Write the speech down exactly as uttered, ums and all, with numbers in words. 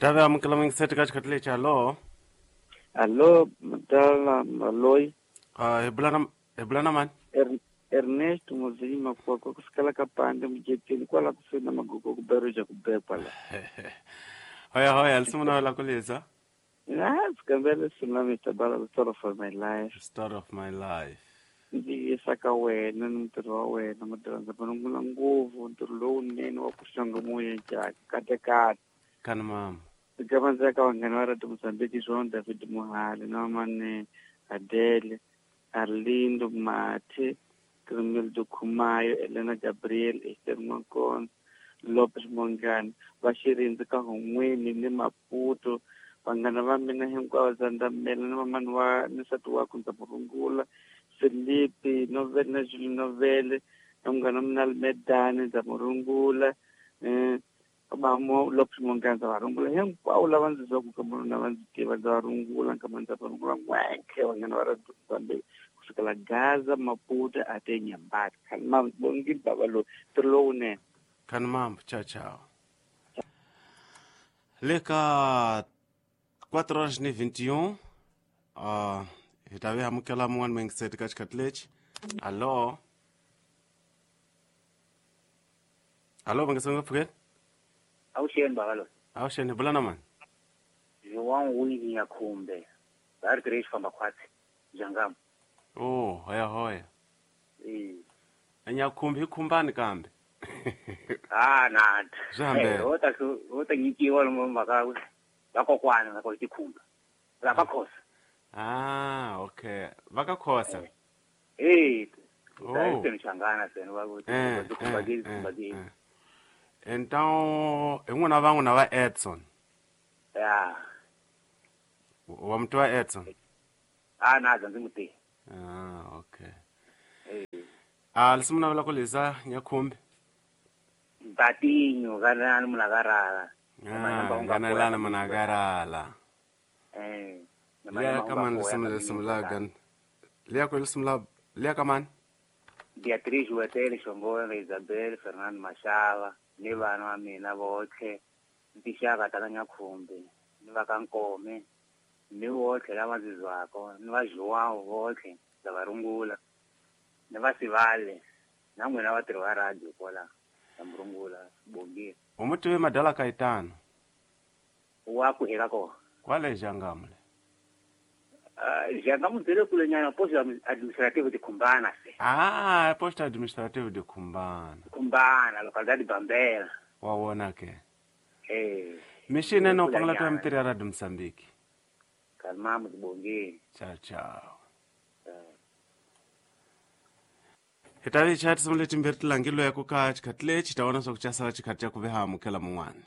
Ta ve amukela mingiseti ka xikhathi lexi. Hallo. Allo, madala Maloyi. Uh, hi bula na hi bula na mani? Er, Ernesto Mozinyi Makwakwa kusukela ka Pande Mujeteni kwala kusuhi na Magogo ku Beruja ku bekwa la. Hoya hoya, lisimu na la kulisa. Ah, sikambele sina Mister Bala, the story of my life. Story of my life. Ndzi yisa ka wena ni ntirho wa wena madyondza vanungula ngopfu ntirho lowunene wa ku xonga moya njhani katekate. Kani mama. Ndzi ndzi ya ka vanghana va Radio Mozambique João David Mohale na Mane Adele Arlindo Mathe Cremildo Khumayo Elena Gabriel Esther Mwankona Lopez Mongani va Xirindzi ka Hon'weni ni Maputo vanghana va mina hinkwavo Zandamela ni vamani wa ni nsati wakwe ndza murungula Felipe Novele na Julie Novele na munghana wa mina Almedani ndza murungula um vamo Lopez Mongani ndza va rungula hinkwavo lava ndzi zwaku ka munhu lava ndzi tiva ndza va rungula nkama ndza va rungula n'wenkhe vanghana va Radio Mozambique kusukela Gaza Maputo ate Nyambati khani ma bongile baba loyi ntirho lowunene. Kani mama, ciao ciao. Le ka quatro horas ni vinte e um, uh, hi ta ve amukela mun'wana mingiseti ka xikhathi lexi. Hallo. Hallo, va nga pfukeni? Awuxeni baba loyi. Awuxeni, hi bula na mani? João Winnie Nyakhumbe. Va ri tirhe xifamba khwatsi. Jangam. Oh, hoya hoya. Eh. Nyakhumbe hi khumbani kambe. Ah, na. Swi hambene. Ho ta ho ta nyikiwa lomu mhaka va kokwana va ko tikhumba. Va ka Khosa. Ah, okay. Va ka Khosa. Eh. Oh. Ta teni changana tena va ku Eh, tikhumba eh, ke eh, tikhumba ke. eh. Então, hi n'wina van'wina va Edson. Ya. Wa muti wa Edson. Ah, na ndzi muti. Ah, okay. Eh. Ah, lisimu navela ku lisa Nyakhumbe. Batinho kana munakarala. Ah, nganelana munakarala. Eh. Liya ka mani lisimu lisimu la gan. Liya ku lisimu la liya ka mani? Beatriz Wetele Shongolo Isabel Fernando Mashava ni vana va mina votlhe ni tixaka ta ka Nyakhumbe ni va ka Nkome ni votlhe lava ndzi zwako ni va João votlhe ndza va rungula ni va Sivale na n'wina vatirhi va radio kwala na murungula Bongile. U mu tive madala Kaitano? Wa ku eka kona. Kwale Jangam le. Ah, Jangam ndzi le kule nyana posto administrative de Khumbana se. Ah, posto administrative de Khumbana. Khumbana localidade Bambela. Wa wona ke. Eh. Mixini no pangala to mitirhi ya Radio Mozambique. Kalmamu Bongile. Ciao ciao. Hi ta vi chaya tinsimu letimbirhi ti langilo ya ku ka xikhathi lexi ta vona swa ku xa sala xikhathi xa ku ve ha amukela mun'wani.